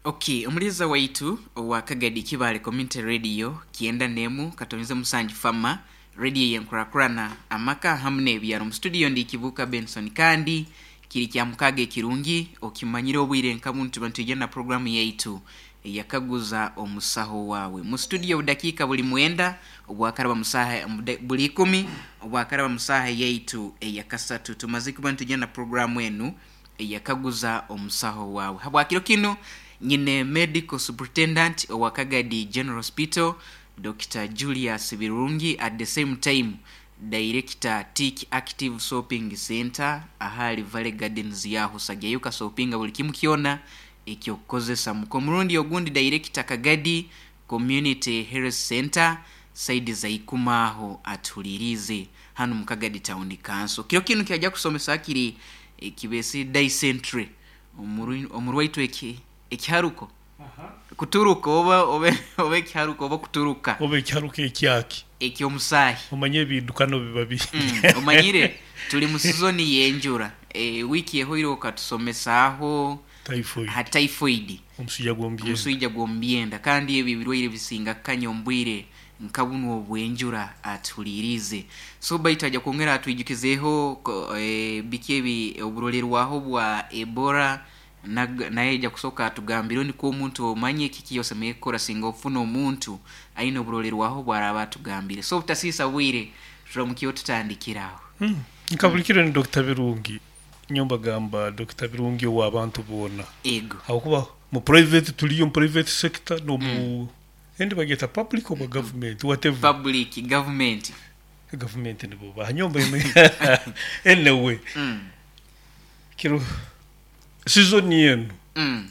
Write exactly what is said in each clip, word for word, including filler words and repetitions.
Okay, omuliza waitu owa Kagadi Kibale Community Radio kyenda nemu katonze musanju fama radio yenkurakurana amaka hamwe n'ebyaro. Mu studio ndi Kibuka Benson, kandi kiri kya mukaga ekirungi okimanyire obwire nka buntu bantu na programu yaitu eyakaguza omusaho wawe. Mu studio budakiika buli mwenda obwakaraba musaha buli ikumi obwakaraba musaha yaitu eyakasatu, tumaze kuba nitujya na programu enu eyakaguza omusaho wawe. Habwakiro kino nyine medical superintendent owa Kagadi General Hospital, Doctor Julius Birungi, at the same time director Tik Active Shopping Center ahali Valley Gardens yaho sagyayo kasopinga buli kimu kyona ekyokukozesa. Mukomurundi ogundi director Kagadi Community Health Center saidi za Ikumaho atulirize hano mu Kagadi Town Council. Kiro kino kyajja kusomesa kiri ekibesi dysentery omurwaitu eki ekiharuko kuturuka oba oba oba ekiharuko oba kuturuka oba ekiharuko ekyaki ekyomusahi. Omanye ebidukano biba bi mm, omanyire tuli mu sizoni yenjura e, wiki ehoire okatusomesaaho typhoid. Ha typhoid, omusujja gw'omubyenda, omusujja gw'omubyenda, kandi ebyo ebirwaire bisinga kanya ombwire nka buno obwenjura atulirize. So baitu ajja kwongera atwijukizeeho e, biki ebi oburolerwaho bwa Ebola, naye ajja kusooka atugambire niko omuntu omanye kiki osemeriire kukora singa ofuna omuntu aine oburolerwaho bwaraba atugambire. So obutasiisa bwire turamukiyo tutandikiraho. hmm. Nka buli kiro ni Doctor Birungi, nyomba gamba Doctor Birungi ow'abantu boona. Ego. Habwokuba mu private tuliyo mu private sector no mu endi bageta public oba government, whatever. Public, government. Government nibo bahanyomba. Anyway, mm. kiro season yenu mm.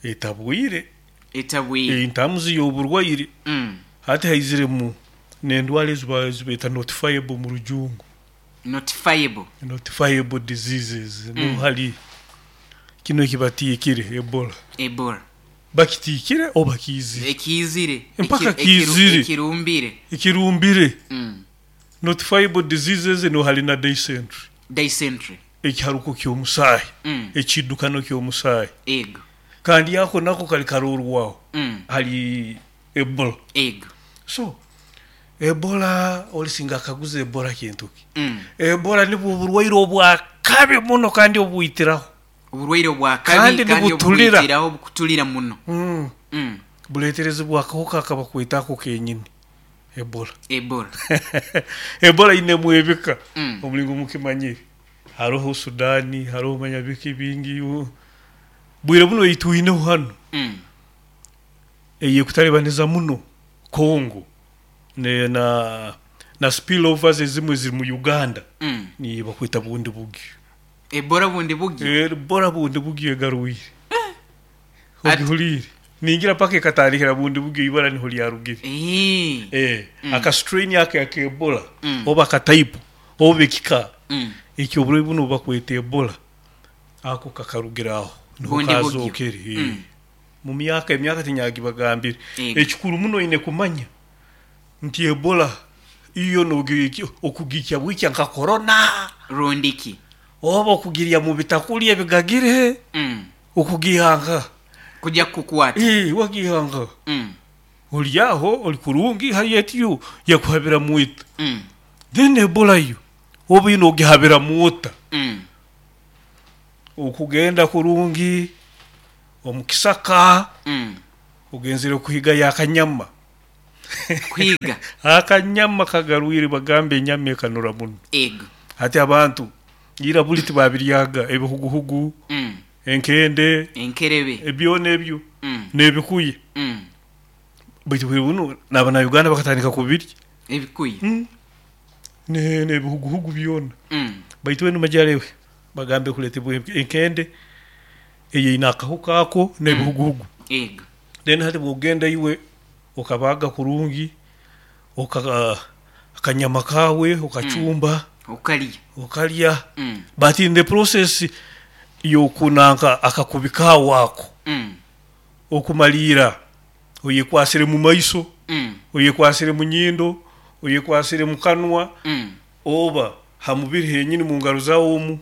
etabwire etabwire entamuzi y'oburwaire mm. hati haiziremu n'endwara eziba zibeta notifiable mu rujungu. Notifiable, notifiable diseases. Mm. No hali kino ekibatiikire Ebola. Ebola bakitiikire oba kiizire? Ekiizire. Mpaka kiizire. Ekirumbire. Ekirumbire. mm. Notifiable diseases no hali na dysentery. Dysentery. Ekiharuko ky'omusaayi, mm. ekidukano ky'omusaayi. Ego. Kandi ako nako kali karorwaho mm. hali Ebola. Ego. So Ebola olisinga akaguza Ebola kintu ki? mm. Ebola nibwo oburwaire obwakabi muno kandi obwitiraho. Oburwaire obwakabi kandi nibutulira. Obwitiraho, bukutulira muno. mm. mm. Buleeterezebwa akahuka akabakwetako kenyini Ebola. Ebola. Ebola inemu ebika mm. omulingo mukimanyire haroho Sudani, haroho manyabiki bingi bwire buno eitwineho hano mm. eyekutalibaniza muno Congo ne na na spillovers ezimwe ziri mu Uganda mm. ni bakwita bundi bugi. Ebola bundi bugi. Ebola bundi bugi egarwire At- ogihulire ningira paka ekatandikira bundi bugi ibara niho lyarugire. Eh. Eh, Mm. aka strain aka aka Ebola Mm. oba aka type oba ekika mm. ekyoburwaire buno bakweta Ebola ako kakarugiraho niho Bundi bugyo. kazokere. Eh. Mm. Mu myaka emyaka tinyagibagambire. Ego. Ekikuru muno ine kumanya nti Ebola iyo nogi okugikya bwikya nka corona rundiki oba okugirya mu bitakuli ebigagire mm. okugihanga kujya kukwata. Eh, wagihanga mm. olyaho oli kurungi hari etiyo yakuhabira mwita mm. then Ebola yo oba ino ogihabira mwota mm. okugenda kurungi omukisaka mm. ogenzere kuhiga yakanyama. Kwiga. Akanyama kagarwire bagambe enyama ekanura muno. Ego. Hati abantu ira buli tibabiryaga ebihuguhugu, mm. enkende, enkerebe, ebyona ebyo mm. n'ebikuye. mm. Baitu bwe buno n'abana Uganda bakatandika kubirya ebikuye mm. ne n'ebihuguhugu byona. mm. Baitu wenu majalewe bagambe kuletebwa enkende eyeina akahuka ako n'ebihuguhugu. Ego. Then hati bwogenda iwe okabaga kurungi oka akanyama kawe okachumba mm. okalya okalya mm. but in the process yokunanka akakubika wako mm. okumalira oyekwasire mu maiso, mm. oyekwasire mu nyindo, oyekwasire mu kanwa mm. oba ha mubiri henyini mu ngaro zawo omu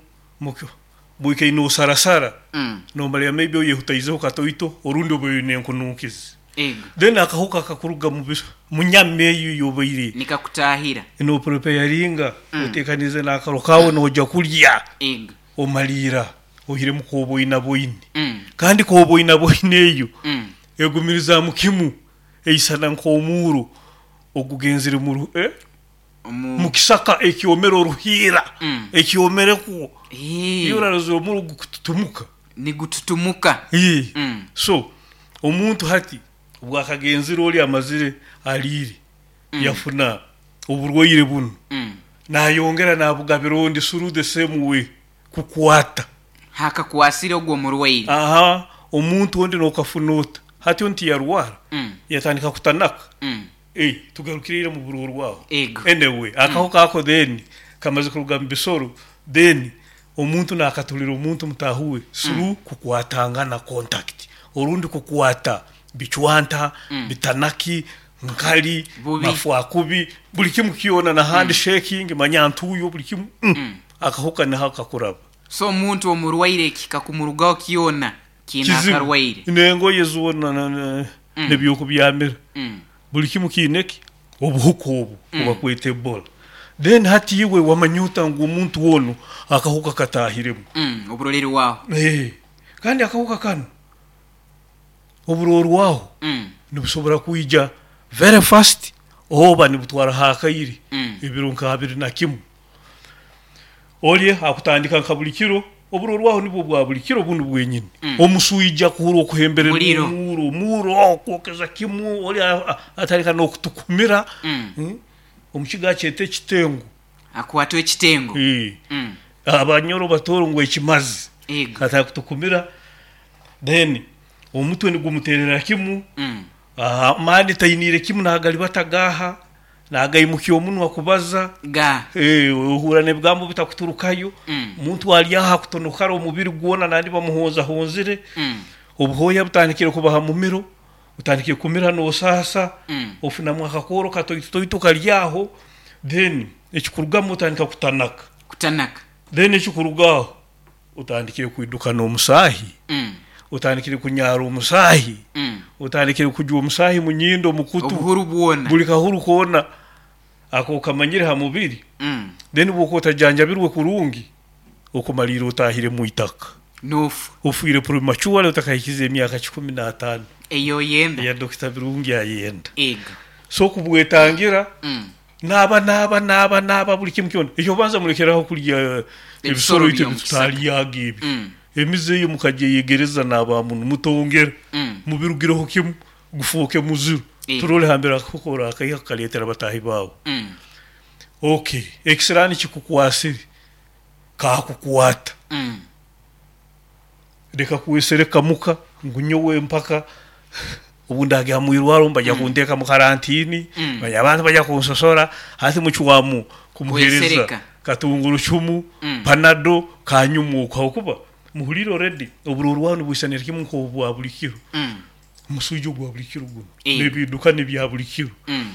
Bwikaire nosarasara, Mm. nomara maybe oyehutaizeho katoito orundi oba oine enkunuukizi. Ego. Then akahuka kakuruga mu biso- mu nyama eyo yobaire Nikakutahira. nopreparinga, Mm. otekanize n'akaro kawe nojya kulya, Ego. omaliira ohiremu koboina boine. Mm. Kandi koboina boine eyo Mm. egumiriza kimu eisana nk'omuuro ogugenzere mu ru- eh? Omu mu kisaka ekyomere oruhiira, Mm. ekyomereku. Eh. Iyo oraroza omuro gukututumuka. Nigututumuka. Eh. Mm. So omuntu hati bwakagenzere oli amazire aliire, Mm. yafuna oburwaire bunu, Mm. nayongera nabugabira ondi through the same way kukwata. Hakakwasire ogwo murwaire. Aha, omuntu ondi nokafuna ota hati onti yarwara, Mm. yatandika kutanaka. Mm. Eh, tugarukirire mu bururu rwaho. Ego. Anyway, akahuka ako then kamaze kuruga mu bisoro, then omuntu nakatulira omuntu mutahuwe through kukwatangana, contact, orundi kukwata bicwanta, Mm. bitanaki nkali, Bubi. mafwakubi, buli kimu kyona na handshaking, manyantuyo, buli kimu. mm. Mm. Akahuka niho kakuraba. So omuntu omurwaire kikakumurugaho kyona kiina akarwaire. Nengoye zona na- na- Mm. nebyokubyamira, Mm. buli kimu kiineki obuhuka obu Mm. obakweta ebola. Then hati iwe wamanyuta ngu omuntu wono akahuka katahiremu. Mm. Oburoreri waho. Eh, kandi akahuka kano oburorwaho Mm. nibusobora kwija very fast oba nibutwara hakaire, Mm. ebiro nka abiri na kimu. Olye akutandika nka buli kiro, oburorwaho nibwo bwa buli kiro bunu bwenyini. Mm. Omusuija kuhura okuhemberera, Muliro. omuro omuro okwokeza kimu, oli a- a- atandika n'okutukumira. Mm. Mm. Omukiga kyete ekitengo. Akwatwa ekitengo. Eh. Mm. Abanyoro batoro ngu ekimazi. Ego. Kataka kutukumira, then omutwe nigumuterera kimu. Mm. Amaani tainire kimu, nagali batagaha nagaimukia omunwa kubaza. Ga. Eh, ohura n'ebigambo bitakuturukayo. Mm. Omuntu ali aha kutonokara omubiri gwona, nandi bamuhonzahonzire. Mm. Obuhoya butandikire kubaha mumiro, utandikire kumira nosasa. Mm. Ofunamu akakoro katoitoito kali aho, then ekikurugamu otandika kutanaka. Kutanaka. Then ekikurugaho otandikire kwidukana omusaahi, Mm. otandikire kunyara omusaahi, Mm. otandikire kujwa omusaahi munyindo, mukutu. Obuhuru bwona. Buli kahuru koona ako kamanyire ha mubiri. Mm. Then bwokuba otajanjabirwe kurungi, okumalira otahire mu itaka. Nofu. Ofiire prematurely otakahikiza emyaka kikumi n'ataano. Eyo yenda. Eya Dokita Birungi ayenda. Ego. So kubwetangira, Mm. naaba naaba naaba naaba buli kimu kyona ekyo, banza mulekeraho kulya Ebisoro ebisoro itu. by'omu kisaka. Tutalyaga ebi. Mm. Emize eyo mukagyeyegereza n'abamuntu mutongera, Mm. mubirugireho kimu, gufuuke muziru. Eh. Turole hambere akakora akaiha kakaletera batahi baawe. Mm. Okay, ekisiraani kikukwasire, kakukwata, Mm. leka kwesereka muka ngu nyowe mpaka obu ndagya mwirwaro mbajya kunteeka mu karantini, Mm. bajya abantu bajya kunsosora. Hati mucwamu kumuhereza Kwesereka. katungurucumu, Mm. panado kanyumuka okuba muhulire already oburorwano nibwisanira kimu nk'obwa buli kiro. Mm. Omusujja ogwa buli kiro guno, Eh. n'ebiduka nebya buli kiro, Mm.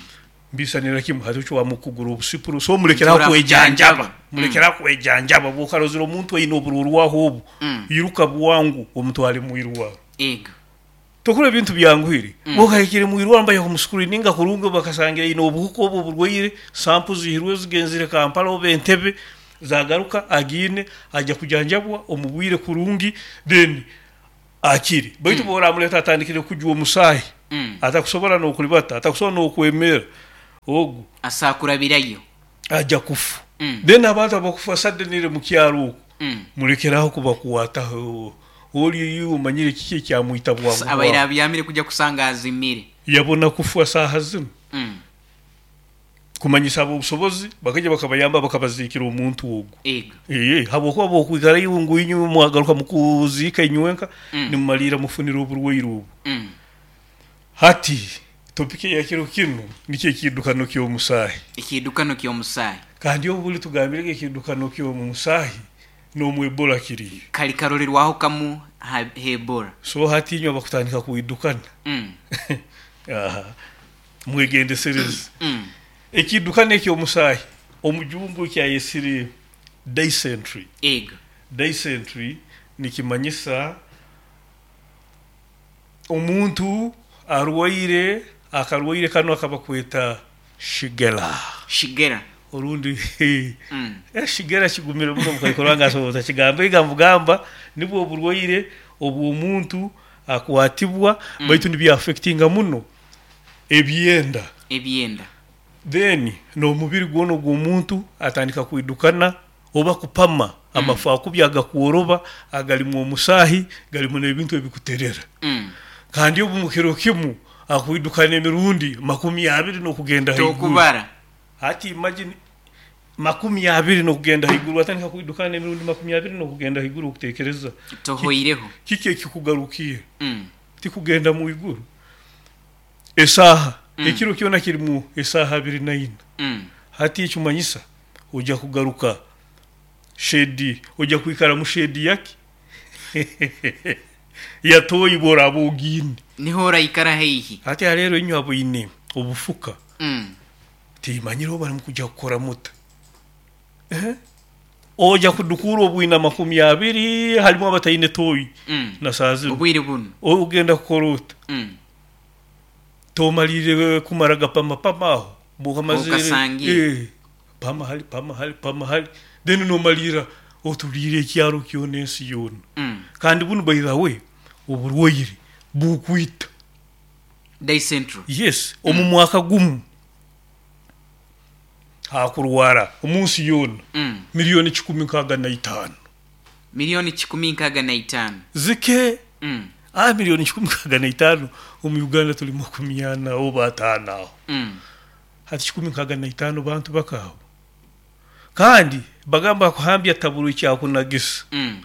mbisanira kimu. Hati ocwamu kugura obusipuro, so mulekeraho Ntura kwejanjaba. kujanjaba. Mulekeraho kwejanjaba. Bwokarozera omuntu aine oburorwaho obu, Mm. iruka bwangu omutwale mwirwaro. Ego. Tokora ebintu byanguhire. Mm. Bwokahikire mwirwaro, mbaya kumusikurininga kurungi, bakasangira ine obuhuka obu oburwaire, sample zihirwe zigenzire Kampala oba Entebe, zagaruka agiine, ajja kujanjabwa omu bwire kurungi, then akire. Baitu mm. bworamuleta atandikire kujwa omusaahi, Mm. atakusobora n'okulibata, atakusobora n'okwemera, ogu Asakurabirayo. ajja kufa. Mm. Then abantu abakufa suddenly mu kyaro okwo, Mm. mulekeraho kubakwataho. Oli omanyire kiki ekyamwita bwangu Abaire bwangu. abyamire kujya kusanga azimire. Yabona kufa saaha zino. Mm. Kumanyisa abobusobozi bakajya bakabayamba bakabaziikira omuntu ogwo. Ego. Ee, habwokuba bwokwikara iwe ngu inywe mwagaruka mukuziika inywenka, Mm. nimumalira mufunira oburwaire obu. Mm. Hati topic ya kiro kino nikyo ekidukano ky'omusaahi. Ekidukano ky'omusaahi. Kandi obu buli tugambirege ekidukano ky'omusaahi n'omu ebola kiriyo. Kali karolerwaho kamu ha ebola. So hati inywe abakutandika kwidukana, Mm. aha, mwegendesereze. Mm. Ekidukano eky'omusaahi, omujungu kyayesire dysentery. Ego. Dysentery nikimanyisa omuntu arwaire akarwaire kanu akabakweta shigella. Shigella. Orundi Mm. eh, shigella kigumire muno mukaikoro ngasoboza kigamba igamba nibwo oburwaire obw'omuntu akwatibwa Mm. baitu nibyaffectinga muno ebyenda. Ebyenda. Then n'omubiri gwona ogw'omuntu atandika kwidukana oba kupama amafu akubi agakworoba agalimu omusaahi galimu n'ebintu ebikuterera. Mm. Kandi obu mukiro kimu akwidukana emirundi makumi abiri n'okugenda haiguru. Tokubara. Hati imagine makumi abiri n'okugenda haiguru, atandika kwidukana emirundi makumi abiri n'okugenda haiguru, okutekereza Tohoireho. Kiki ekikugarukiye? Mm. Tikugenda mu iguru esaaha Mm. ekiro kyona kirimu esaaha abiri na ina. Mm. Hati ekimanyisa ojja kugaruka shedi, ojja kwikara mu shedi yaki yatoyi bworaba ogiine. Niho oraikara haihi. Hati haleero inywe aboine obufuka Mm. timanyire oba nimukujja kukora muta. Eh? Ojja kudukura obwina makumi abiri halimu abataine toyi Mm. na saa zino. Obwire buno. Ogenda kukora ota? Mm. Tomalire kumara gapamapama aho bwokamazire Okasangiye. eh, pama hali pama hali pama hali, then nomalira otuliire ekyaro kyona ensi yoona. Mm. Kandi bunu by the way oburwaire bukwita. Dysentery. Yes, omu mwaka gumu hakurwara omunsi yoona Mm. miliyoni kikumi nkaaga na itaano. Miliyoni kikumi nkaaga na itaano. Zike. Mm. Ah, miliyoni kikumi nkaaga na itaano, omu Uganda tuli makumi ana oba ataano aho. Mm. Hati kikumi nkaaga na itaano bantu bakaabo, kandi bagamba kuhambya taburu ekyakunagisa. Mm.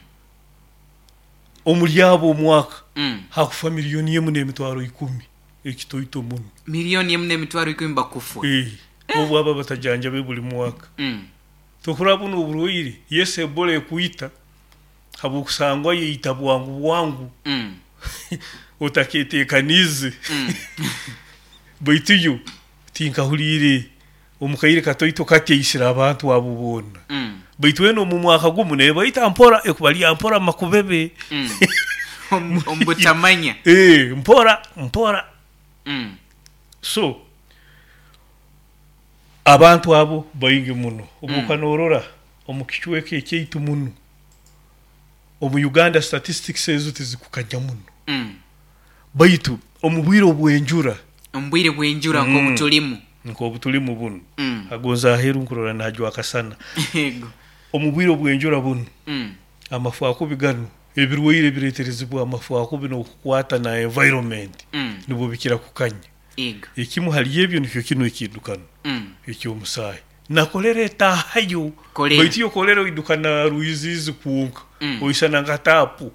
Omuri abo omwaka Mm. hakufa miliyoni emu n'emitwaro ikumi, ekitoito muno. Miliyoni emu n'emitwaro ikumi bakufwa. Eh, obu aba batajanjabe buli mwaka. Mm. Tokuraba buno oburwaire, yes, Ebola ekwita habwokusangwa yeita bwangu bwangu. Mm. Otaketeekanize. Mm. Baitu yo tinkahuliire omukaire katoito kati eisire abantu abo boona. Mm. Baitu wena omu mwaka gumu nebaita mpora ekubalya mpora makubebe. Mm. Omu- omubutamanya. Eh, mpora mpora. Mm. So abantu abo baingi muno Mm. obukanorora omu kicweka ekyaitu muno omu Uganda statistics ezo tizikukanya muno. Mm. Baitu omu bwire obwenjura, Omu bwire bw'enjura Mm. nk'obutulimu. Nk'obutulimu buno. Mm. Agonza aheru nkurora najwa akasana. Ego. Omu bwire obwenjura buno Mm. amafu akubi gano ebirwaire bireeterezibwa amafu akubi n'okukwata na environment Mm. nibwo bikira kukanya. Ego. Ekimu hali ebyo nikyo kino ekidukano Mm. ekyomusaayi nakolera etaahayo. Kolera. Baitu yo kolera oidukana rwiziizi kwonka. Mm. Oisana nka taapu.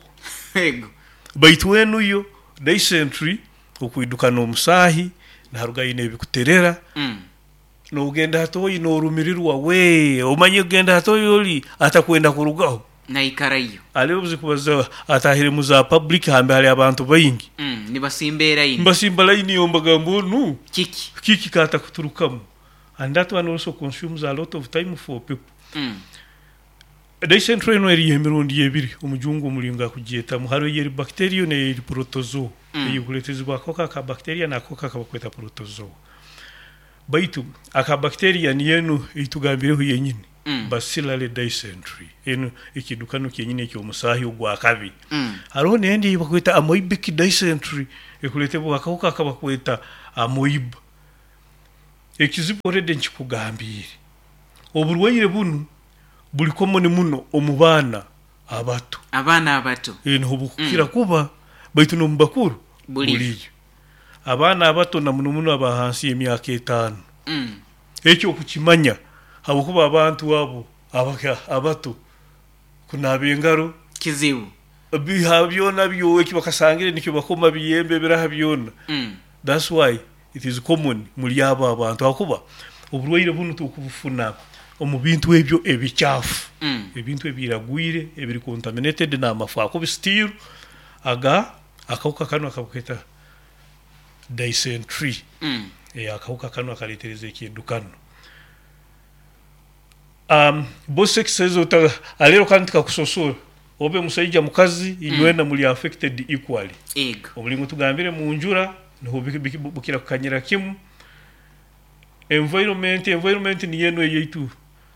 Ego. Baitu enuyo dysentery okwidukana omusaahi naharugayo n'ebikuterera. Mm. Nogenda hatoyi norumirirwa we omanye kugenda hatoyi oli atakwenda kurugaho. Naikarayo. Aliho zikubaza atahire mu za public hambe hali abantu baingi. Mm. Nibasimba eraini. Mbasimba layini yo mbagamba onu Kiki? Kiki kata kuturukamu, and that one also consumes a lot of time for people. Mm. Dysentery eno eriyo emirundi ebiri omujungu omulingo akugyetamu, hariho eyeri bacteria neyeri protozoa. Mm. Eyikuleetezibwa akahuka aka bacteria n'akahuka akabakweta protozoa, baitu aka bacteria niyo enu eitugambireho yenyini. Mm. Bacillary dysentery enu ekidukano kyenyini ekyomusaahi ogwakabi. Mm. Hariho nendi eyibakweta amoebic dysentery ekuleetebwa akahuka akabakweta amoeba. Ekizibu already nkikugambiire, oburwaire bunu buli common muno omu baana abato. Abaana abato. Eh, niho bukukira kuba, baitu n'omu bakuru Buliyo. buliyo. Abaana abato na muno muno aba hansi y'emyaka etaano. Mm. Ekyo okukimanya habwokuba abantu abo abaka abato kunaaba engaro Kizibu. biha byona byo eki bakasangire nikyo bakoma biyembe biraha byona. Mm. That's why it is common muri abo abantu hakuba oburwaire bunu tukubufuna omu bintu ebyo ebikyafu. Mm. Ebintu ebiragwire ebiri contaminated n'amafu akubi still aga akawuka kano akabuketa dysentery. Mm. Eh, akawuka kano akaleetereza ekidukano. um, both sexes ota alero kandi tikakusosora obe musaija mukazi inywena muli affected equally. Ego. Omulingo tugambire mu njura niho biki- biki- bukira kukanyira kimu. Environment, environment niyo eno eyaitu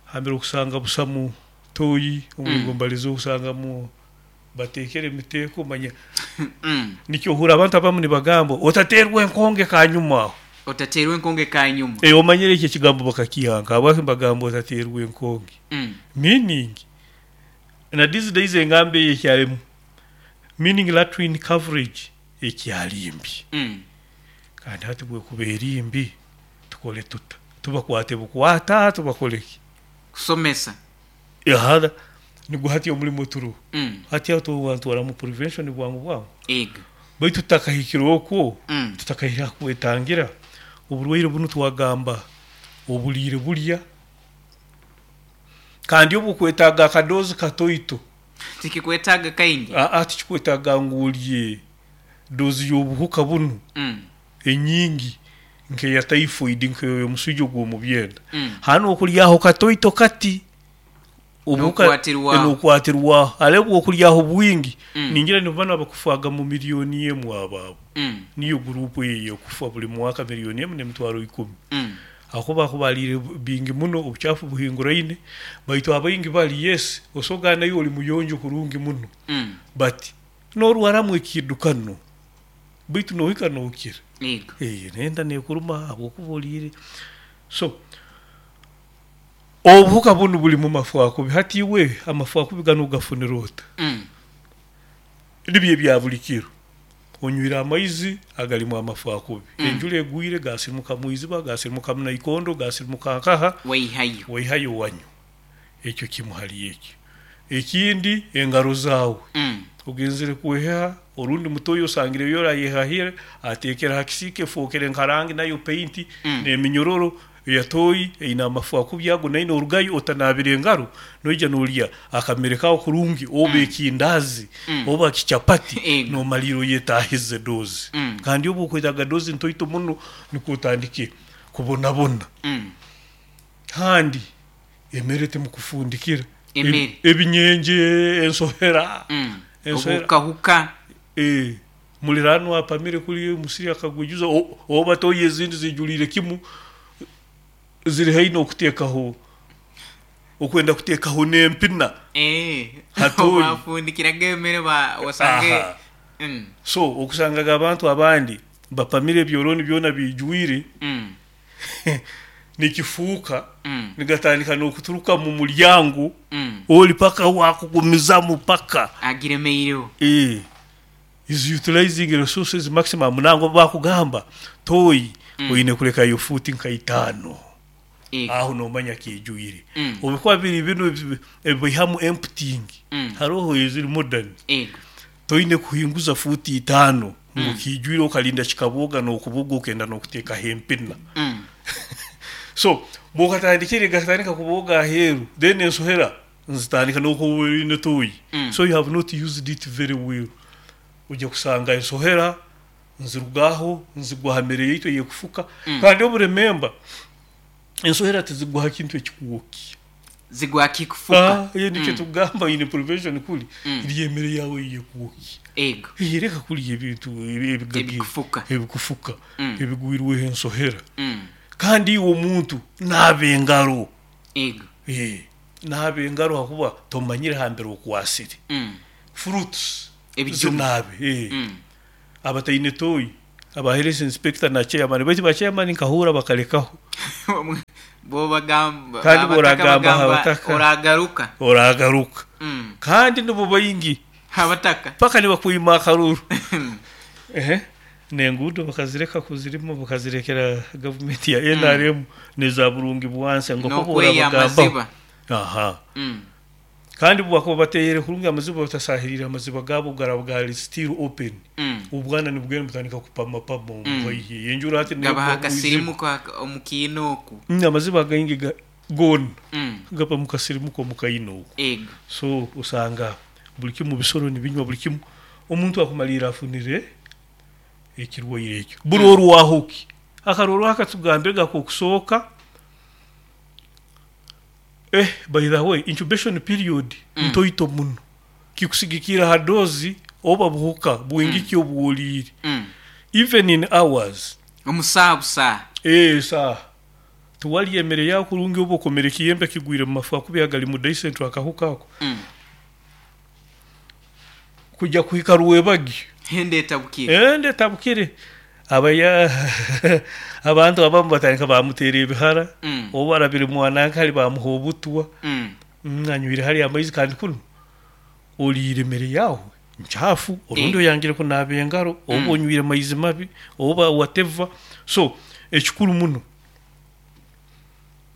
hambere okusanga busamu toyi omulingo mbalize okusangamu batekere emiteeko manya. Mm. Nikyo ohura abantu abamu nibagamba otaterwa enkonge kanyuma aho. Otaterwa enkonge kanyuma. Eh, omanyire ekyo ekigambo bakakihanga habwaki mbagamba otaterwa enkonge. Mm. Meaning na these days engambo eyo ekyalimu meaning latrine coverage ekyali mbi. Mm. Kandi hati bwekuba eri mbi tukole tuta tubakwate bukwata tubakoleki Kusomesa. Ehada nigwo hati omulimu turu. Mm. Hati aho tuwantwara mu prevention bwangu bwangu. Ego. Baitu tutakahikire okwo. Mm. Tutakahira kwetangira oburwaire bunu twagamba obuliire bulya kandi obukwetaaga akadozi katoito. Tikikwetaaga kaingi. Aa, tikikwetaaga ngu olye dozi y'obuhuka bunu Mm. enyingi nkeya typhoid nk'omusujja ogw'omu byenda. Mm. Hanu okulyaho katoito kati obuhuka N'okwatirwaho. N'okwatirwaho ale bw'okulyaho bwingi. Mm. Ningira nibo banu abakufaga mu miliyoni emu abaabo. Mm. Niyo gurupu eyo ekufa buli mwaka miliyoni emu n'emitwaro ikumi. Mm. Aho bakubalire bingi muno obuchafu buhinguraine baitu abaingi bali yes osoga nayo oli muyonjo kurungi muno. Mm. But norwaramu ekidukano baitu nohika nokira. Ego. Eh, nenda nekuruma habwokuba oliire. So obuhuka bunu buli mu mafu akubi hati iwe amafu akubi gano gafunira ota. Mm. Nibyo ebya buli kiro onywire amaizi agalimu amafu akubi. Mm. Enjura egwire gasirimuka mwiziba gasirimuka munaikondo gasirimuka nkaha. Waihayo. Waihayo wanyu ekyo kimu hali ekyo. Ekindi engaro zaawe. Mm. Ogenzere kweha orundi mutoyo osangire yora yehahire atekera hakisike fokere nkarangi nayo paint. Mm. N'eminyororo eyatoyi eine amafu akubi ago naine orugayo otanabire engaro noija nolya akamere kawo kurungi oba Mm. ekindazi Mm. oba kichapati. Ego. Nomaliro yetahize dozi. Mm. Kandi obu okwetaga dozi ntoito muno nikwo otandike kubonabona. Mm. Kandi emere temukufundikira. Emere. Ebinyenje ensohera. Mm. Ensohera. Obukahuka. Eh, mulirano apamire kuli musiri akagwijuza oba toyi ezindi zijulire kimu ziri haino okuteekaho okwenda kuteekaho n'empina. Eh. Hatoyi. Bafundikiraga emere ba wasange. Aha. Mm. So okusangaga abantu abandi bapamire ebyoroni byona bijwire. Mm. Nikifuuka. Mm. Nigatandika n'okuturuka mu mulyango. Mm. Oli paka wakugumizamu paka Agiremeireho. Eh, is utilizing resources maximum nango bakugamba toyi Mm. oyine kulekayo futi nka itaano. Ego. Aho nomanya kijwire. Mm. Obikuba biri bino ebi- ebihamu emptying. Mm. Haroho eziri modern. Ego. Toine kuhinguza futi itaano Mm. ngu kijwire okalinda kikaboga n'okubuga okenda n'okuteekaho empina. Mm. So bwokatandikire gatandika kuboga aheeru then ensohera nzitandika n'okuba toyi. Mm. So you have not used it very well. Ojja kusanga ensohera nzirugaho nzigwa ha mere yaitu eyekufuka. Mm. Kandi oburememba ensohera tizigwa ha kintu ekikuwoki. Zigwa kikufuka. Ah, ye nikyo Mm. tugamba ine prevention kuli Mm. iri emere yawe eyekuwoki. Ego. Yereka kuli ebintu ebigagi Ebikufuka. ebikufuka. Mm. Ebigwirweho ensohera. Mm. Kandi iwe omuntu naaba engaro. Ego. Eh, naaba engaro hakuba tomanyire hambere okwasire. Mm. Fruits Ebijuma. zinaabe eh. Mm. Abataine toyi aba health inspector na chairman baitu ba chairman nkahura bakalekaho. Bo bagamba Kandi abataka boragamba bagamba, abataka. Oragaruka. Oragaruka. Mm. Kandi nibo baingi Abataka. paka nibakwima akaruru. Ehe nengudo bakazireka kuzirimo bakazirekera gavumenti ya N R M neza burungi bwanse ngo ko N'okweya borabagamba. amaziba. Aha. Mm. Kandi bwakuba bateyere kurungi amaziba batasahirira amaziba gabo garabwari still open. Mm. Ubwana nibugenda butandika kupama pama Mm. omuhaihi enjura hati Gabaha akasirimu kwa omukiina oku. Mm, amaziba againgi ga- gona Mm. gapa mukasirimuko mukaina oku. Ego. So osanga buli kimu bisoro nibinywa buli kimu omuntu akumalira afunire ekirwaire ekyo buli orwahuki akarorwa akatugambire gakokusooka. Eh, by the way, incubation period Mm. ntoito muno, kikusigikira ha dose oba buhuka bwingi ki obwoliire. Mm. Even in hours. Omusaha busaha. Eh, saa tuwalya emere yawe kurungi oba okomere ekiyembe kigwire mu mafu akubi agali mu dysentery akahuka ako Mm. kujja kuhika rwebagi. Hende etabukire. Ende tabukire, abaya abantu abamu batandika bamuteera ebihara. Mm. Oba arabire mwanankali bamuha obutwa. Mm. Mm, anywire hali amaizi, kandi kuno oliire emere yawe nkyafu orundi Eh. oyangire kunaaba engaro oba Mm. onywire amaizi mabi oba whatever. So ekikuru muno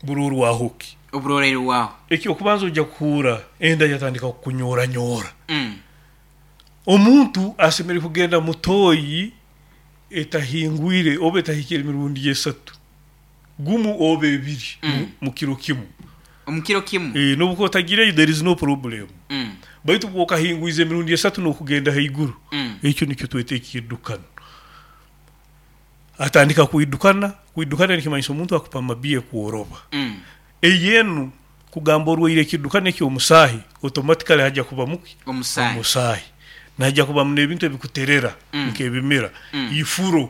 burorwahoki? Oburorero waho. Ekyokubanza, ojja kuhuura enda yatandika kukunyoranyora. Mm. Omuntu asemere kugenda mutoyi etahingwire oba etahikire emirundi esatu, gumu oba ebiri Mm. mu- mu kiro kimu. Omukiro kimu. E, nobuko otagireyo, there is no problem. Mm. Baitu bwokahingwiza emirundi esatu n'okugenda haiguru, Mm. ekyo nikyo tweta ekiddukano. Atandika kwidukana. Kwidukana nikimanyisa omuntu akupa mabiye kworoba. Mm. Eyenu kugamba orwaire ekiddukano ekyomusaahi, automatically hajja kuba muki? Omusahi. Omusaahi najja kubamu n'ebintu ebikuterera Mm. nk'ebimira. Mm. Ifuro,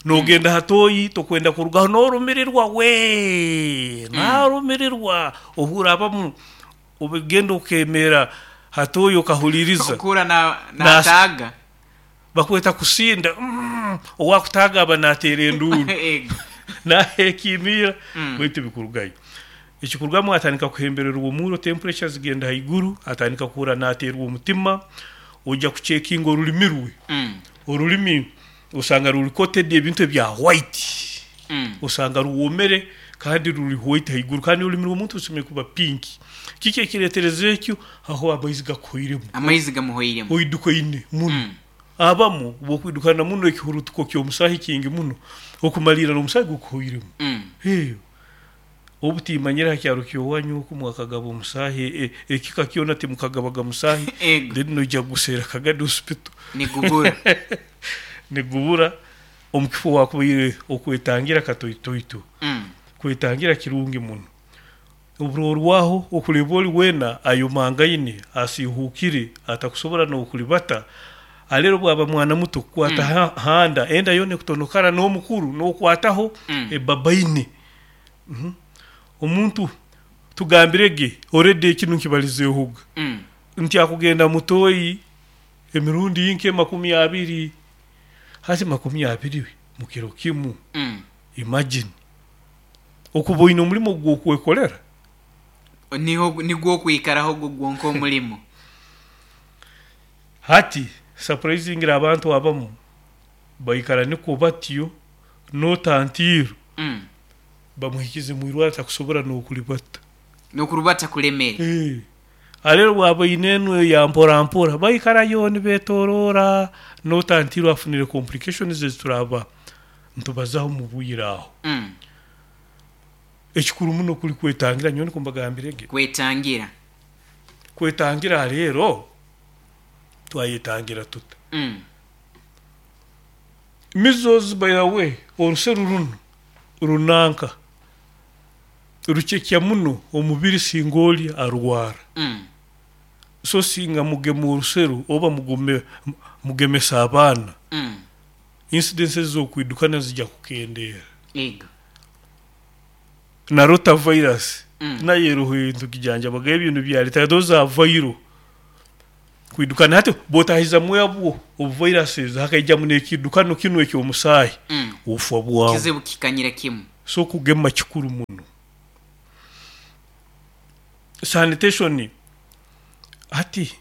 nogenda hatoyi tokwenda kurugaho, norumirirwa we narumirirwa, ohura abamu obigenda okemera hatoyi okahuliriza. Okura na Nas- nataga. Bakweta kusinda, mm, owakutaga aba nateera enduuru. Ego. Nahekimira. Mm. Baitu bikurugayo, ekikurugamu atandika kuhembererwa omuro, temperature zigenda haiguru, atandika kuhura nateerwa omutima. Ojja kucekinga orulimi rwe. Mm. Orulimi osanga ruri coated ebintu ebya white. Mm. Osanga ruwomere kandi ruri white haiguru, kandi orulimi rw'omuntu rusemere kuba pink. Kiki ekiretereza ekyo? Aho amaizi gakuhoiremu. Amaizi gamuhoiremu. Oidukaine muno. Mm. Abamu bwokwidukana muno ekihurutuko ky'omusahi kingi muno, okumalira n'omusahi gukuhoiremu. Mm. Eyo obutimanyira ha kyaro kyowanyu oku mwakagaba omusahi, e- ekika kyona timukagabaga musahi. Ego. Then noija gusera Kagadi Hospital. Nigubura. Nigubura omukifo wakubaire okwetangira katoitoito. Mm. Kwetangira kirungi muno. Oburorwaho okuleba oli wena ayomangaine, asihukire, atakusobora n'okulibata. Alero bwaba mwana muto kukwata Mm. ha- handa enda yone kutonokara, n'omukuru n'okwataho Mm. ebabaine. Mhm. Omuntu tugambirege already ekinu nkibalizeehoga Mm. nti akugenda mutoyi emirundi nke makumi abiri, hati makumi abiri mu kiro kimu. Mm. Imagine okuba oine omulimu gwokwekolera. Niho nigwo kwikaraho gwo gwonka omulimo. Hati surprisingly abantu abamu baikara niko batyo notantiiro Mm. bamuhikize mwirwara takusobora n'okulibata. Nokurubata kulemere. Eh. Alero bwaba ine enu ya mpora mpora, baikarayo nibetorora notantiiro afunire complications ezituraba ntubazaho mu bwire aho. Mm. Ekikuru muno kuli kwetangira, nyowe niko mbagambirege. Kwetangira. Kwetangira rero twayetangira tuta? Mm. Measles, by the way, oruseru runo runanka rucekya muno omubiri singa oli arwara. Mm. So singa mugema oruseru oba mugume mugemesa abaana, Mm. incidences z'okwidukana zijja kukendeera. Ego. Na rotavirus Mm. nayo eroho ebintu kijanjabaga ebintu byaleta, those are viral kwidukana. Hati botahizamu abwo obuviruses, hakaijamu n'ekiddukano kinu ekyomusaahi, Mm. obufa bwawe. Kizibu kikanyira kimu. So kugema kikuru muno. Sanitation, hati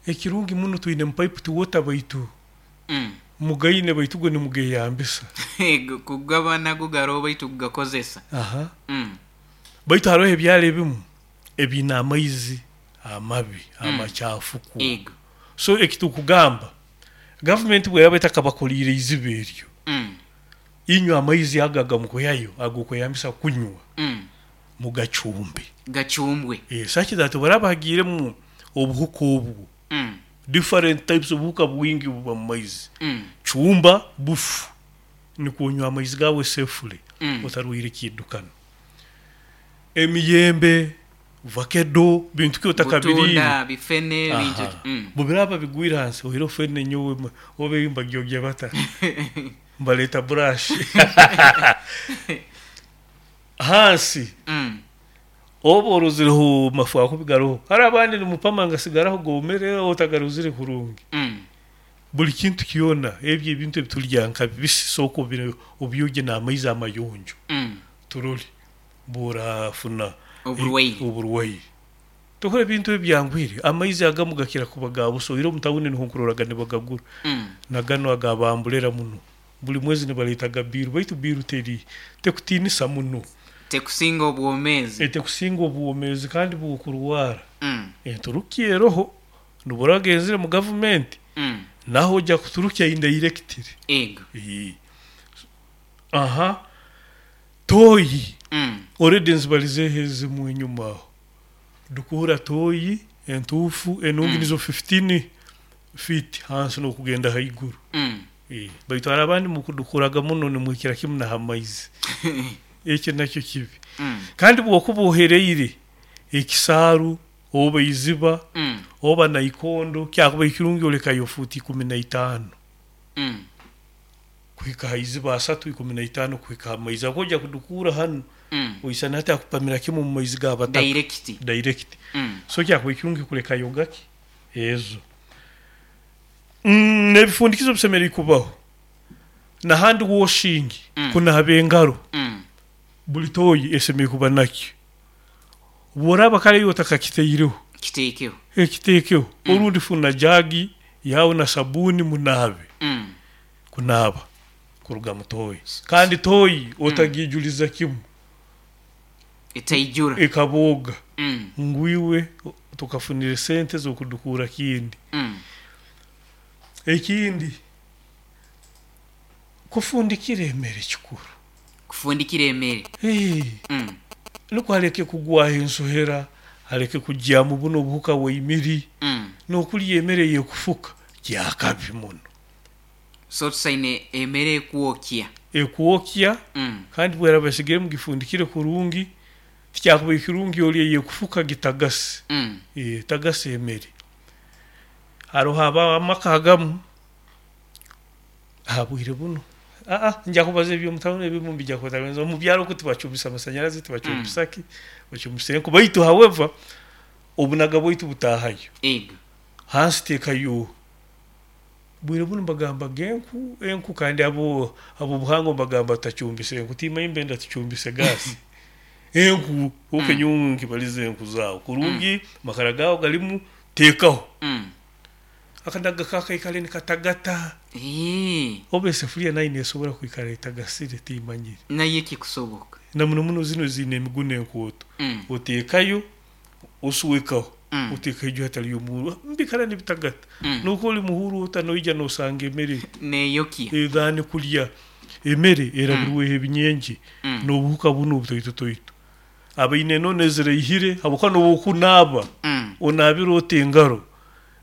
ekirungi muno twine piped water, baitu Mm. mugaine, baitu gwe nimugeyambisa. Ego, kugabana gugaro baitu kugakozesa. Aha. Mm. Baitu hariho ebyalo ebimu ebiine amaizi amabi, amakyafuku. Ego. So ekitukugamba, gavumenti bweyaba etakabakoliire iziba eryo, Mm. inywe amaizi ago agamukuyayo agokweyambisa kunywa, Mm. mugacumbe. Gacumbwe. E, such that baraba hagiiremu obuhuka obwo, Mm. different types obuhuka bwingi buba mu maizi, Mm. cumba bufu nikwo onywa amaizi gawe safely, Mm. otarwaire kiddukano. Emiyembe, vakedo, bintu ki otakabiriire. Butunda, bifene, bintu. Aha. Mm. Bubiraba bigwire hansi ohireho fene, nyowe ma- obe mbagyogya bata mbaleeta brush hansi. Mm. Oba orozireho mafu akubi garoho, hari abandi nimupama ngasigaraho gomere otagarozire kurungi. Mm. Buli kintu kyona, ebyo ebintu ebitulya nka bibisi, sooka obire- obyogye n'amaizi amayonjo. Mm. Turole bworafuna oburwaire. Oburwaire. Tukora ebintu ebyanguhire, amaizi agamu gakira kuba ga busa. Oire omu tawuni niho nkuroraga nibagagura. Mm. Nagano agabambulera muno buli mwezi nibaleetaga bill, baitu bill teri tekutiinisa muno. Tekusinga obwomeezi. Etekusinga obwomeezi, kandi bwokurwara Mm. enturukya eroho nubura genzire mu gavumenti. Mm. Naho ojja kuturukya indirectly. Ego. Ee. Aha, toyi. Mm. Already nzibalizeho ezimu enyuma aho. Dukuura toyi entuufu enungi. Mm. Nizo fifteen feet hansi n'okugenda haiguru. Mm. Eh, baitu hari abandi mukudukuraga muno nimwikira kimu naha maizi, ekyo nakyo kibi. Mm. Kandi bwokuba ohereire ekisaaru oba iziba Mm. oba naikondo, kyakuba ekirungi olekayo fuuti ikumi na itaano Mm. kuhika ha iziba, asatu, ikumi na itaano kuhika ha maizi. Ako ojja kudukura hanu, Mm. oisana hati akupamira kimu mu maizi g'abataka. Direct. Direct. Mm. So kyakuba ekirungi kulekayo gaki ezo. Mm, n'ebifundikizo bisemeriire kubaho na hand washing. Mm. Kunaaba engaro. Mm. Buli toyi esemeriire kuba nakyo. Bworaba kale yo otakakiteireho, kiteekeho. Ekiteekeho. Mm. Orundi funa jagi yawe na sabuni munaabe. Mm. Kunaaba kuruga mu toyi, kandi toyi otagijuliza kimu. Etaijura. Ekabooga. Mm. Ngwiwe tukafunire sente z'okudukura kindi. Mm. Ekindi, kufundikira emere kikuru. Kufundikira emere. Hey, Mm. nukwo aleke kugwaho ensohera, aleke kujyamu buno obuhuka bweimiri. Mm. N'okulya emere yekufuka kyakabi muno. So tusaine emere ekwokya. Ekwokya. Mm. Kandi bweraba esigire mugifundikire kurungi, tikyakuba ekirungi olya yekufuka gitagase. Mm. E, tagase emere. Haroho aba amaka agamu aha bwire buno, aa nja kubaza ebyomutawuni, ebimu mbijja kwetagenza omu byaro ko tibacumbisa amasanyarazi, tibacumbisa ki, bacumbisa enku. Baitu however obunaga bwaitu butahayo. Ego. Hansi teekayo. Bwire buno mbagamba genku enku, kandi abo abo buhango mbagamba tutacumbisa enku, timanyi mbenda tucumbise gasi, enku okenyungu nkibaliza enku zaawe kurungi, makara gawe galimu, teekaho. Mm. Akanaga kakaikale nikatagata. Eh, oba esefuliya nayo nesobora kwikara etagasire, timanyire. Naye kikusoboka. Na muno muno zino ziine emiguno enkooto. Mm. Oteekayo, osuwekaho. Mm. Oteekayo iju hataliyo omuhuru, mbikara nibitagata. Mm. Nuko oli muhuru ota noija nosanga emere neyokya. Ethaani kulya emere erabirweho ebinyenje. Mm. N'obuhuka bunu obutoito toito abaine enono eziraihire, habwokuba nobu okunaaba Mm. onaabire ota engaro,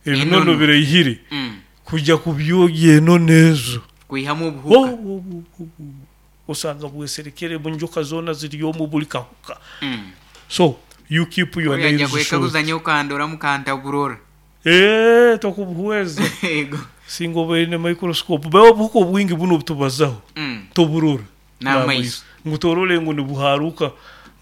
ebinono Enono. biraihire. Mm. Kujya kubyogya enono ezo. Kwihamu Oh, obuhuka. oh, oh, oh, oh. Osanga bweserekere munjoka zoona ziri omu buli kahuka. Mm. So you keep your Oyo ajja nails short. kwekaguza nyo kandoramu kantaburora. Eh, tokubuhweza. Ego. Singa obaire ne microscope, bawe obuhuka obwingi buno obutubazaho Mm. toburora n'amaiso. ngu torole ngu nibuharuka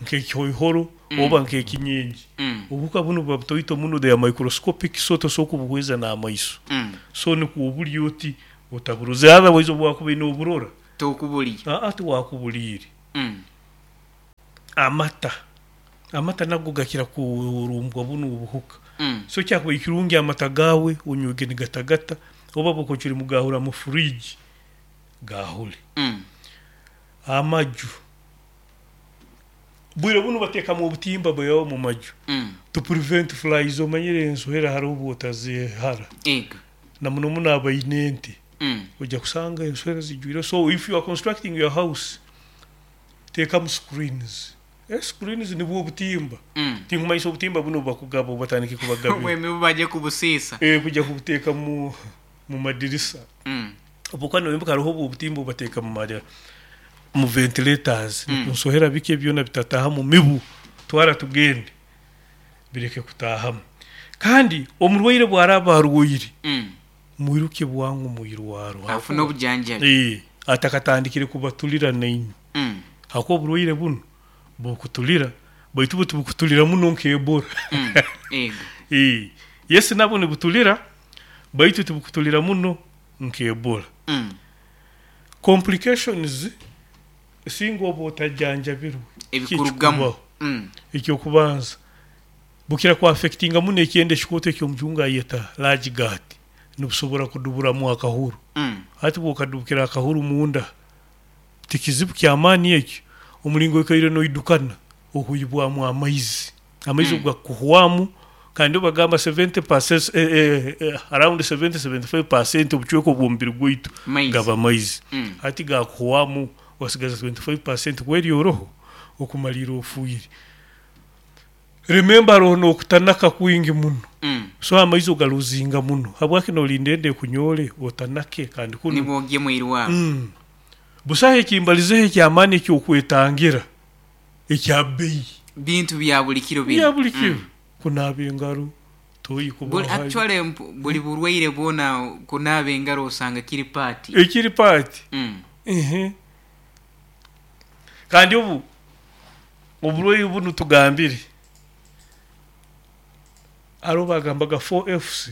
nk'ekihoihoro Mm. oba nk'ekinyenyi. Mm. Obuhuka buno buba butoito muno, they are microscopic, so tosobola kubuhweza n'amaiso. Mm. So nikwo obuli oti otaburoze, otherwise obwakubaire noburora, tokubuliya. aa tiwakubuliire. Mm. Amata, amata nago gakira kurumbwa buno obuhuka. Mm. So kyakuba ekirungi amata gawe onywege nigatagata, oba bwokocuri mugahura mu fridge, gahule. Mm. Amaju, bwire buno bateekamu obutimba bweyawo mu maju Mm. to prevent flies. Omanyire ensohera hariho obwotazihara. Ego. Na muno muno abaine ente, Mm. ojja kusanga enswera zijwire. So if you are constructing your house, teekamu screens. Eh, screens nibwo obutimba. Mm. Tinkumanyisa obutimba buno bakugaba obatandike kubagabira. Obwemi baje kubusiisa. Eh, kujja kubuteeka mu mu madirisa. Mm. Obuka noyimbuka hariho obwo obutimba obateeka mu mari mu ventilators. Mm. Nsohera bike byona bitataha mu mibu. Twara tugende bireke kutahamu. Kandi omurwaire bwaraba arwaire, Mm. mwiruke bwangu mwirwaro. Afune obujanjabi. Eh, atakatandikire kubatulira nainywe. Mm. Hakuba oburwaire buno bukutulira, baitu bwo tibukutulira muno nk'Ebola. Mm. Ego. Eh, yes, nabwo nibutulira, baitu tibukutulira muno nk'Ebola. Mm. Complications singa oba otajanjabirwe, ebikurugamu. Kikubaho. Mm. Ekyokubanza, bukira kuaffectinga muno ekyenda ekikooto ekyomujungu ayeta large gut, nibusobora kuduburamu akahuru. Mm. Hati bwokadubukira akahuru munda, tikizibu kyamaani ekyo, omulingo oikaire noidukana okuhibwamu amaizi, amaizi Mm. gakuhwamu. Kandi bagamba seventy percent, eh, eh, eh, around seventy seventy-five percent obucweka obw'omubiri gwaitu maizi. Gaba maizi. Mm. Hati gakuhwamu, wasigaza twenty-five percent kweri oroho okumalira ofuire. Remember, roho nokutanaka kwingi muno. Mm. So amaizi ogaluzinga muno, habwaki nolinda ende ekunyole otanake kandi kuno nibwogye mwirwaro. mm. busaho ekimbalizeho ekyamaani ekyokwetangira ekya bbeyi. Bintu bya buli kiro bino. Bya buli kiro. Mm. Kunaaba engaro, toyi. Buli kuba actually mp- buli burwaire bwona kunaaba engaro osanga kiri part. Ekiri part. Mm. Ehe. Kandi obu oburwaire bunu tugambire, hariho bagambaga four Fs.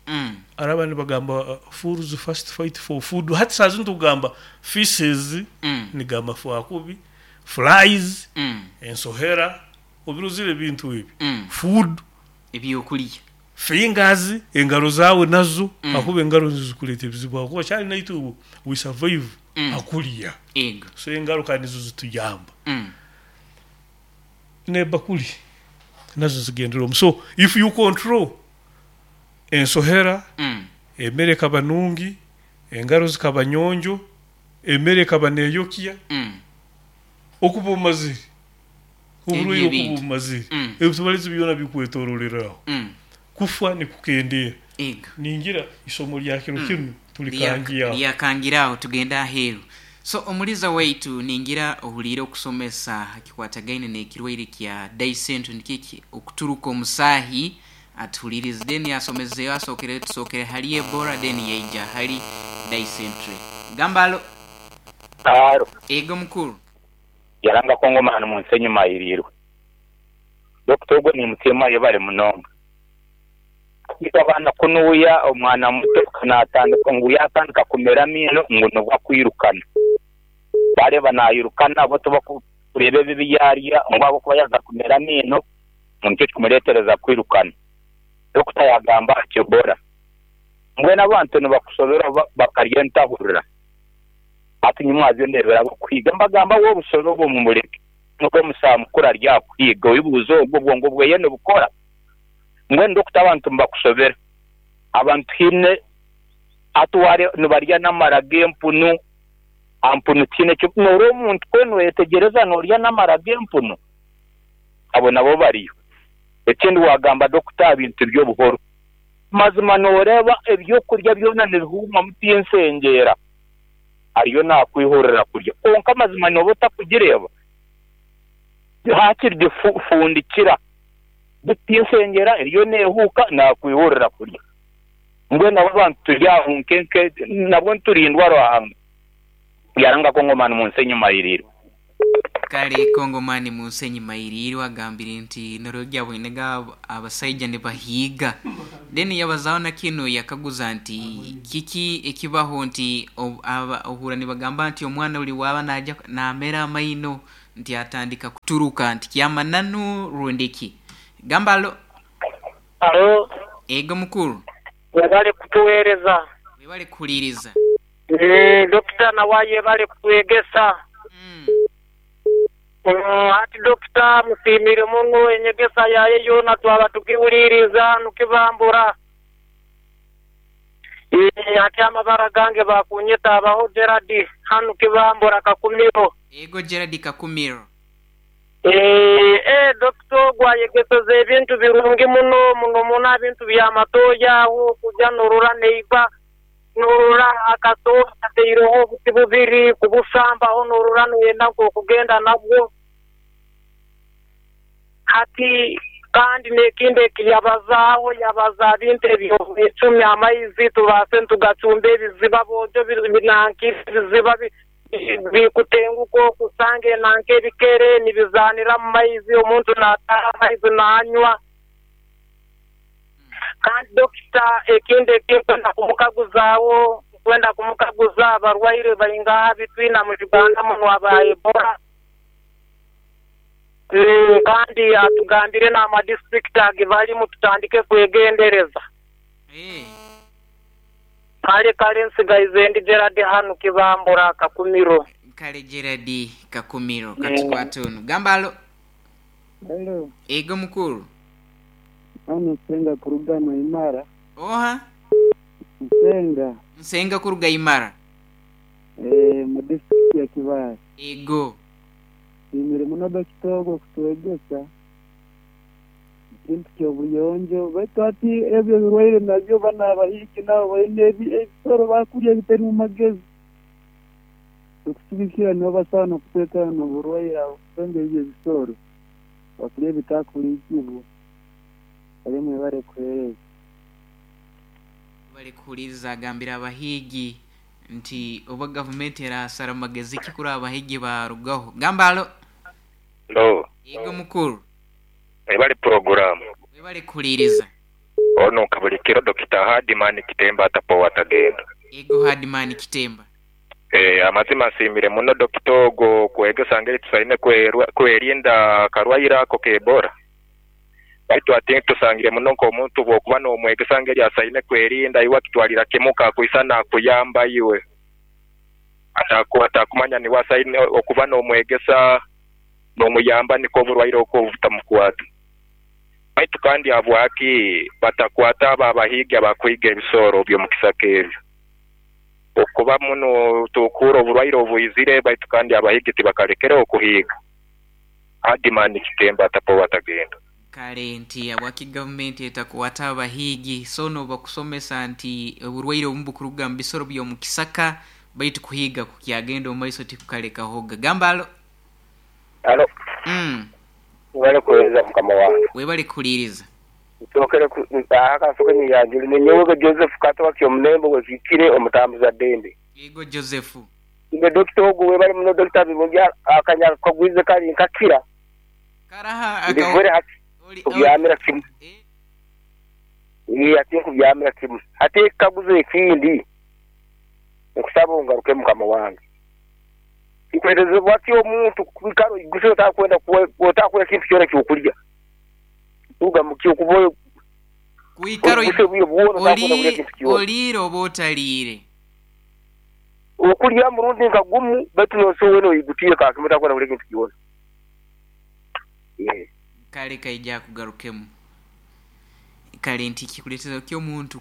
Mm. Hari abandi bagamba uh, fools first fight for food. Hati saa zino tugamba feces. Mm. Nigamba fwakubi, flies, Mm. ensohera, obiruzire ebintu ebi, Mm. food, ebyokulya, fingers, engaro zawe nazo. Mm. Akuba engaro zikuleeta ebizibu, akuba kyali naitu we survive Mm. akulya. Ego. So engaro kandi nizo zituyamba. Mm. Nebakuli nazo zigendera omu. So if you control ensohera, Mm. emmere ekaba nungi, engaro zikaba nyonjo, emmere ekaba neyokya, Mm. okuba omazire oburwaire, Ebyo okuba ebintu. omazire, Mm. ebitubalizi byona bikwetororeraho, Mm. kufa nikukendeera. Ego. Ningira isomo lya kiro Mm. kinu tulikangiaho. Lyakangiraho, tugenda aheeru. So omuliza waitu, ningira ohuliire okusomesa kikwatagaine n'ekirwaire kya dysentery, nikiki okuturuka omusaahi. Atuhulirize, then asomezeyo, asookere tusookere hali Ebola, then yaija hali dysentery. Gamba alo. Aro. Ego mukuru. Yaranga kongomani mu nsi enyuma ayirirwe. Dokita ogwo nimusiima, yebale munonga. Itwe abaana kunuuya omwana muto natandika ngu yatandika kumera amiino ngu nibwo akwirukana, bareeba nayirukana bo tubakureba ebibi yarya ngu ahabwokuba yaza kumera amiino ngu nikyo kikumureetereza kwirukana. Dokita yagamba ati Ebola, mbwenu abantu nibakusobera bakarya entahurira. Hati nyimwazyo ndebera abakuhiga mbagamba, wowe obusobe obwo mumureke, nubwo omusaha mukuru aryakuhiga oibuuza ogwo obwongo bweye nibukora. Mbwenu dokita, abantu nibakusobera, abantu hiine atuware nibarya n'amara g'empunu, ampunu tiine ekyo noora omuntu kwe noyetegereza norya n'amara g'empunu, abo nabo bariyo. Ekindi wagamba dokita, bintu by'obuhoro, mazima noreeba ebyokurya byona nibihuumamu tinsengera ariyo nakwihurira kurya, konka mazima noba otakugireeba hakiri gifundikira tinsengera eriyo neehuuka nakwihurira kurya. Mbwenu abo abantu turi aho nkenke nabwo niturindwa Ruhanga. Yaranga kongomani mu nsi enyuma yirirwe. Kale, kongomani mu nsi enyuma iriirwe agambire nti norogya bwinega abasaija nibahiiga. Then yabazaho na kino, yakaguza nti kiki ekibaho nti ob- aba- ohura nibagamba nti omwana uli waba naja namera amaino nti atandika kuturuka, nti kyamananu rundiki? Gamba alo. Alo. Ego mukuru. Webale kutuweereza. Webale kuhuliriza. Eh, dokita nawaye yebale kutwegesa. mm. Mm, ati dokita musimire muno, enyegesa yaye yona twaba tukiwuliriza nukibambura. Eh, ati amabara gange bakunyeta abaho Gerard hanu Kibambura Kakumiro. Ego Gerard, Kakumiro. Eh, eh, dokita ogwo ayegeseza ebintu birungi muno muno muno, ebintu byamatoya aho kuja norora neiba, norora akatoya kateireho obuti bubiri kubusambaho, norora noyenda nk'okugenda nabwo. Hati kandi n'ekindi ekiyabazaaho yabaza bintu eby'obwecumi amaizi tubaase ntugacumba ebiziba bonjo binanka ebiziba bikutenguka okusanga enanka ebikere nibizaanira mu maizi omuntu naataaha amaizi naanywa. Kandi dokita ekindi ekinkwenda kumukaguzaawo nkwenda kumukaguza abarwaire baingaha bitwina mu Uganda muno aba Ebola. Mm, kandi atugambire n'amadistrict age balimu tutandike kwegendereza. Eh. Kale kale nsigaize ndi Gerard hanu Kibambura Kakumiro. Kale Gerard Kakumiro katukwate ono. Gamba alo. Hello. Ego mukuru. Ano Nsenga kuruga Imara. Oha? Nsenga. Nsenga kuruga Imara. Eh, mu district ya Kibale. Ego. Nsiimire muno dokita kutwegesa ekintu ky'obuyonjo baitu ati ebyo ebirwaire nabyo bana abahiki nabo baine ebisoro bakurya ebitari mu magezi okusigikira nibo basaana okuteekana n'oburwaire abo kubanga ebyo ebisoro bakurya ebitakurikibwa bari mwebare kuheereza. Bari kuhuliriza agambira abahigi nti oba gavumenti erasara amagezi ki kuri abahigi barugaho. Gamba alo. Lo. Ego mukuru. Ebali program. Webale kuhuliriza. Ono kabulikiro Dokita Hardman Kitemba atapo watagenda. Ego Hardman Kitemba. Eh, amazima nsiimire muno dokita ogo kwegesa ngeri tusaine kwerinda karwaire ako k'Ebola. Baitu ati tusangire muno nk'omuntu bw'okuba n'omwegesa ngeri asaine kwerinda iwe akitwalira kimu kakwisa nakuyamba iwe. Ataku atakumanya niwe asaine okuba n'omwegesa n'omuyamba niko oburwaire okwo butamukwata. Baitu kandi habwaki batakwata abo abahiga abakuhiga ebisoro by'omukisaka ebyo. Okuba muno tukura oburwaire obwizire baitu kandi abahigi tibakalekere okuhiga. Hardman Kitemba atapo watagenda. Kale nti abwaki gavumenti etakwata abahigi sono bakusomesa nti oburwaire obumu bukuruga mu bisoro by'omukisaka baitu kuhiga kukyagenda omu maiso tikukalekahoga. Gamba alo. Alo. Mm. Webale kuheereza mukama wange. Webale kuhuliriza. Nsokere akasoke niyanjuli ninyowe Joseph Kato wakyomulembe wekikire omutambuza ddembe. Yego Joseph. Ime dokita ogu webale muno dokita Birungi akanya kagwize kali nkakira. Karaha aka hati kubyamira kimu. Ee ati kubyamira kimu. Ate kaguze ekindi. Nkusaba ongaruke mukama wange. Ikwerezebwa ki omuntu kwikaro iguse otakwenda otakwenda ekintu kyona kyokulya. Tuga mukyo kuboyo kwikaro olire oba otaliire. Okulya murundi nka gumu baitu nosowe noyigutiire kakimwe otakwenda kulya ekintu kyona. Yeah. Kale kaija kugarukemu. Kale nti kikuleetera ki omuntu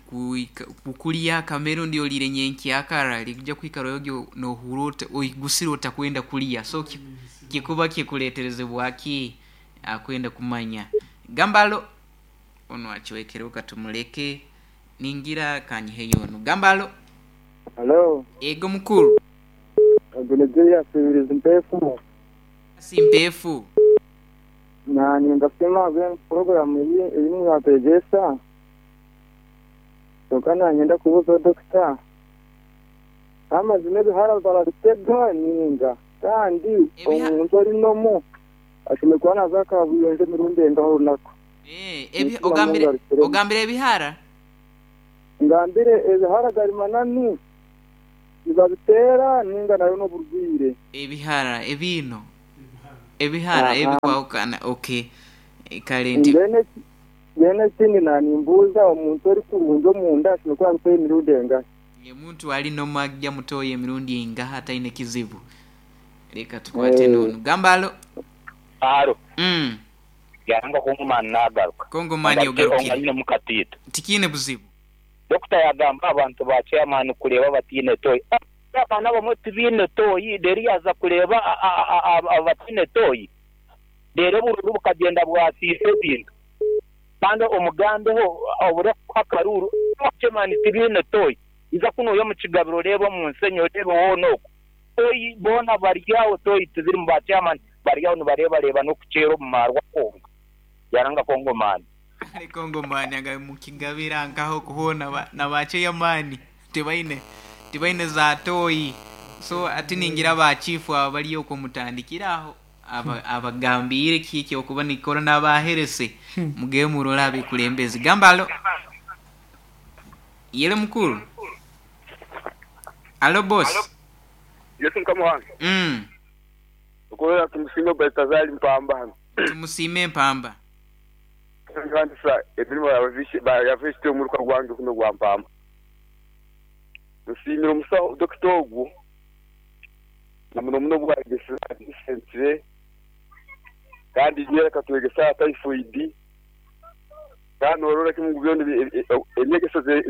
kukulya akamero ndi olire nyenkyakara likuja kwikara ogyo nohura oigusire otakwenda kulya so kikuba kikuleeterezebwa ki akwenda kumanya. Gambalo ono achiwekere katumuleke ningira kanyiheyo ono. Gambalo. Hello. Ego mukuru. Agulegeya sibiriza mpefu. Simpefu. Na ningafema gwen program iyi irimu yategesa. Tokana ngenda kubuza dokita. Amazima ebihara barabitega ninga kandi omuntu ari nomo ashobora naza kabuyonje mirundi engaho runaka. Eh, ebi ogambire ogambire ebihara? Ngambire ebihara gari manani nibabitera ninga nayo no burwire. Ebihara ebino. Ebihara ebikwahukana okay. Kale nti Bene bene kindi nanimbuza omuntu ari kurunjo munda ashobora kuba emirundi engahe. Omuntu ali nomagya mutoye emirundi engahe ataine kizibu. Leka tukwate nono. Gambalo. Aro. Mm. Yanga kongomani nagaruka. Kongomani ogarukire. Onganyine mukatito. Tikine buzibu. Dokita yagamba abantu ba chairman kureba batine toyi. Abana bamwe tibine toyi deri yaza kureba abatine toyi. Dere bururu bukagenda bwasise ebintu. Kandi omugambeho obure kwakaruru chairman tibine toyi. Iza kuno yo mu kigabiro reba mu nsenyo reba wonoko. Toyi bona baryawo toyi tiziri mu ba chairman baryawo nibareba reba no kuchero mu marwa konga. Yaranga Kongomani. Kale Kongomani aga mukigabira nkaho kuhona ba- na bacheyamani tibaine tibaine za toyi so ati ningira bachifu aba bali okwo mutandikiraho aba- abagambire kiki okuba nikora n'abaherese muge murora abikulembezi gamba alo yele mukuru alo boss. Yesu mukama wange. Mm. Okorera tumusime Baltazari Mpamba hano. Tumusime Mpamba. Nkandisa emirimo yavisite omuruka gwange kuno gwa Mpamba. Nsimira omusawo dokita ogwo na muno muno bwagesa sentire kandi nyereka twegesa typhoid kandi orora kimungu byona emyegeso ze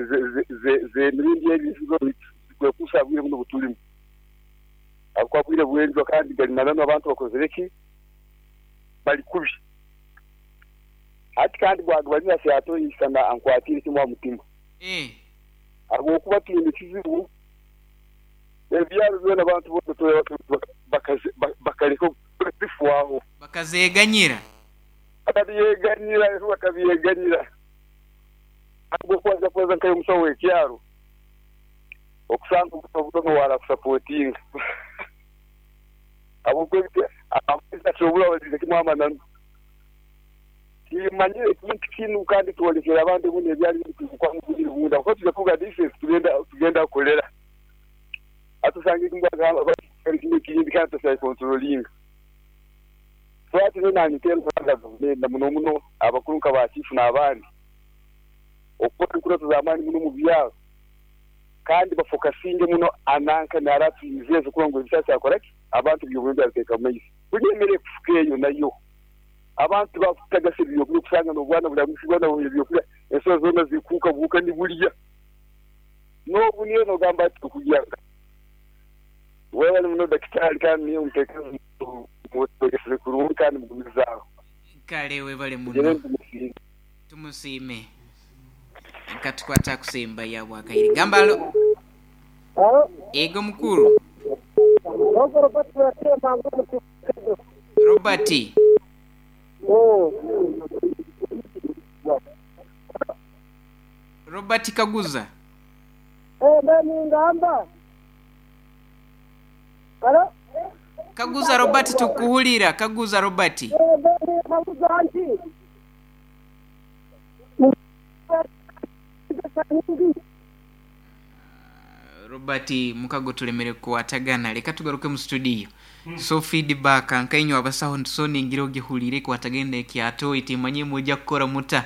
ze ze mirindi ebizigo kwekusa bwire buno butulimu akwabwire bwenzwa kandi gari nanano abantu bakozereki bali kubi ati kandi gwagwanya syato isana ankwatire kimwa mutima eh agokuba tuyine kizibu ebyaro byona abantu bose bakaze bakaleko bifuaho bakazeganyira bakabyeganira bakabyeganira agokwaza kwaza nkayo musawo w'ekyaro okusanga obutono wala kusupportinga abo kwebite asobora bazize kimwa mananu kimanyire ekintu kinu kandi tuwolekera abantu buno ebyali bikuwa mu bunda kuko tujya kuvuga defense tugenda tugenda kolera atusange kimbwa kino kindi kandi tusaye controlling twati nani tero gavumenti muno muno abakuru nka ba chief n'abandi okukora enkurato z'amaani muno mu byaro kandi bafokasinge muno ananka naratuizeze kuba ngo ebisasa akoraki abantu by'obwembe abiteeka mu maiso kunyemere kufuka eyo nayo abantu bakutagasa ebyokurya kusanga n'obwana bulamusigwa nabo ebyokurya ensozi zona zikuuka buuka nibulya n'obu niyo nogamba ati okugyanga webali muno dakitari kandi niyo muteekeze muteekeze kurungi kandi mugumizaaho kale webale muno tumusiime katukwata kusemba yabwa kaire gamba alo ego mukuru Robert Robert Kaguza eh bani ngamba alo Kaguza Robert tukuhulira Kaguza Robert eh bani kaguza anti Robert mukago tulemere kuwatagana leka tugaruke mu studio mm. So feedback nkainyo abasaho so ningira ogihulire kuwatagenda ekyato itimanye mujja kukora muta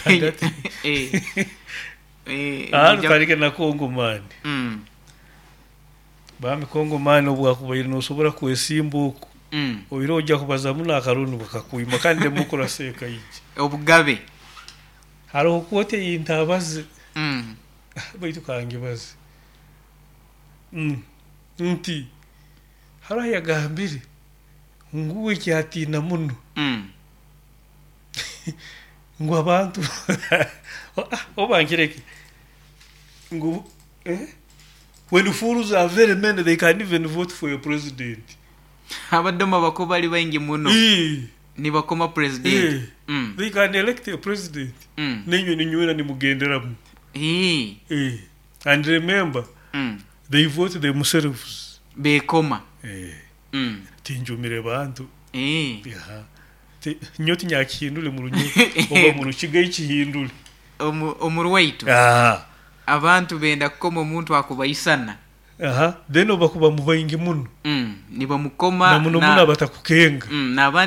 eh eh ah tarike na Kongomani mm bami Kongomani obwakubaire nosobora kwesimbuko mm oiro ojja kubaza muno akarunu bakakuima kandi demokrasi ekaije obugabe hariho kote yintabaze mm baitu kangibaze mm nti hariho yagambire nguwe kyatina muno mm ngu abantu obangireke ngu eh when fools are very many they can't even vote for your president abadoma bako bali baingi muno e. nibakoma president e. mm. They can elect a president mm. nenywe ninywera nimugenderamu e. e. And remember mm. they vote themselves bekoma eh mm. tinjumire bantu eh yeah. Nyo tinyakihindule mu runyo oba mu rukiga ikihindule omurwaitu ah abantu benda kukoma omuntu akubaisana aha then obakuba mubaingi muno mm nibamukoma na muno muno abatakukenga mm nabandi